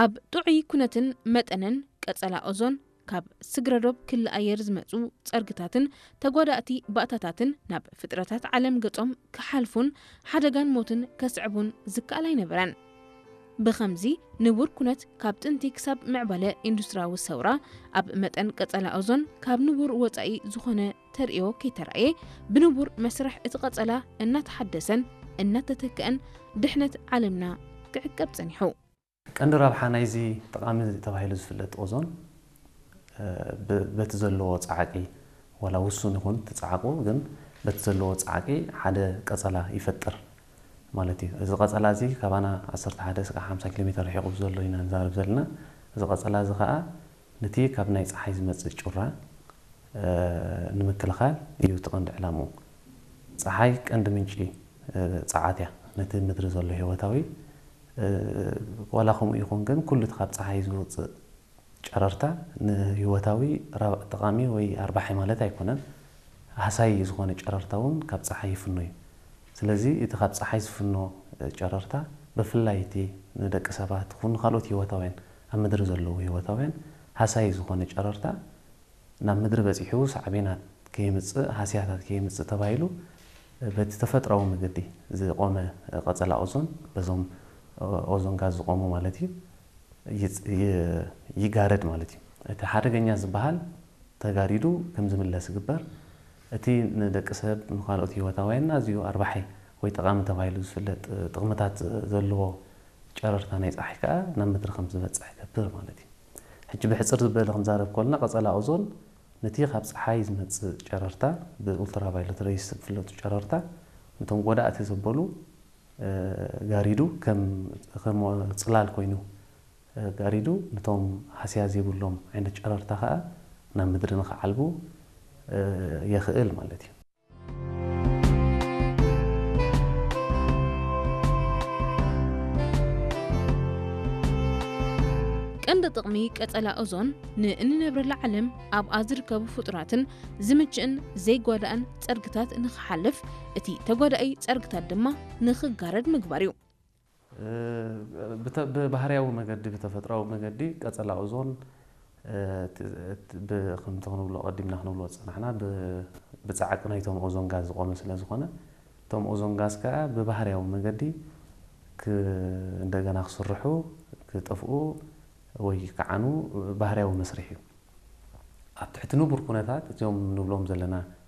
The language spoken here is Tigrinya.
ኣብ ጥዑይ ኩነትን መጠንን ቀጸላ ኦዞን ካብ ስግረዶብ ክሊ ኣየር ዝመጹ ጸርግታትን ተጓዳእቲ ባእታታትን ናብ ፍጥረታት ዓለም ገጾም ክሓልፉን ሓደጋን ሞትን ከስዕቡን ዝከኣል ኣይነበረን። ብኸምዚ ንቡር ኩነት ካብ ጥንቲ ክሳብ ምዕባለ ኢንዱስትሪያዊ ሰውራ ኣብ መጠን ቀጸላ ኦዞን ካብ ንቡር ወጻኢ ዝኾነ ተርእዮ ከይተራእየ ብንቡር መስርሕ እቲ ቀጸላ እናተሓደሰን እናተተክአን ድሕነት ዓለምና ክዕቀብ ጸኒሑ። ቀንዲ ረብሓ ናይዚ ጠቓሚ ተባሂሉ ዝፍለጥ ኦዞን በቲ ዘለዎ ፃዕቂ ዋላ ውሱን ይኹን ትፃዕቁ ግን በቲ ዘለዎ ፃዕቂ ሓደ ቀፀላ ይፈጥር ማለት እዩ። እዚ ቀፀላ እዚ ካባና ዓሰርተ ሓደ እስካብ ሓምሳ ኪሎ ሜትር ርሒቑ ዘሎ ኢና ንዛረብ ዘለና። እዚ ቀፀላ እዚ ከዓ ነቲ ካብ ናይ ፀሓይ ዝመፅእ ጩራ ንምክልኻል እዩ እቲ ቀንዲ ዕላምኡ። ፀሓይ ቀንዲ ምንጪ ፀዓት እያ ነቲ ምድሪ ዘሎ ህይወታዊ። ዋላ ከምኡ ይኹን ግን ኩሉ እቲ ካብ ፀሓይ ዝወፅእ ጨረርታ ንህይወታዊ ጠቓሚ ወይ ኣርባሒ ማለት ኣይኮነን። ሃሳይ ዝኾነ ጨረርታ እውን ካብ ፀሓይ ይፍኖ እዩ። ስለዚ እቲ ካብ ፀሓይ ዝፍኖ ጨረርታ ብፍላይ እቲ ንደቂ ሰባት ኹን ንካልኦት ህይወታውያን ኣብ ምድሪ ዘለዉ ህይወታውያን ሃሳይ ዝኾነ ጨረርታ ናብ ምድሪ በፂሑ ሳዕቤናት ከየምፅእ ሃስያታት ከየምፅእ ተባሂሉ በቲ ተፈጥራዊ መገዲ ዝቆመ ቀፀላ ኦዞን በዞም ኦዞን ጋዝ ዝቆሙ ማለት እዩ ይጋረድ ማለት እዩ። እቲ ሓደገኛ ዝበሃል ተጋሪዱ ከም ዝምለስ ይግበር። እቲ ንደቂ ሰብ ንካልኦት ህይወታውያን ኣዝዩ ኣርባሒ ወይ ጠቓሚ ተባሂሉ ዝፍለጥ ጥቕምታት ዘለዎ ጨረርታ ናይ ፀሓይ ከዓ ናብ ምድሪ ከም ዝበፅሕ ይገብር ማለት እዩ። ሕጂ ብሕፅር ዝበለ ክንዛረብ ከለና ቀፀላ ኦዞን ነቲ ካብ ፀሓይ ዝመፅእ ጨረርታ ብኡልትራቫዮለት ሬይስ ዝፍለጡ ጨረርታ ነቶም ጎዳእቲ ዘበሉ ጋሪዱ ከም ጽላል ኮይኑ ጋሪዱ ነቶም ሃስያ ዘይብሎም ዓይነት ጨረርታ ከዓ ናብ ምድሪ ንክዓልቡ የኽእል ማለት እዩ። ቀንዲ ጥቕሚ ቀጸላ ኦዞን ንእንነብረላ ዓለም ኣብኣ ዝርከቡ ፍጡራትን ዝምችእን ዘይጓዳእን ጸርግታት ንኽሓልፍ፣ እቲ ተጓዳኢ ጸርግታት ድማ ንኽጋረድ ምግባር እዩ። ብባህርያዊ መገዲ ብተፈጥራዊ መገዲ ቀጸላ ኦዞን ከምቲ ክንብሎ ቀዲምና ክንብሎ ዝጸናሕና ብጻዕቂ ናይቶም ኦዞን ጋዝ ዝቆመ ስለ ዝኾነ እቶም ኦዞን ጋዝ ከኣ ብባህርያዊ መገዲ እንደገና ክስርሑ ክጠፍኡ ወይ ክዓኑ ባህርያዊ መስርሕ እዩ። ኣብ ትሕቲ ንቡር ኩነታት እዚኦም ንብሎም ዘለና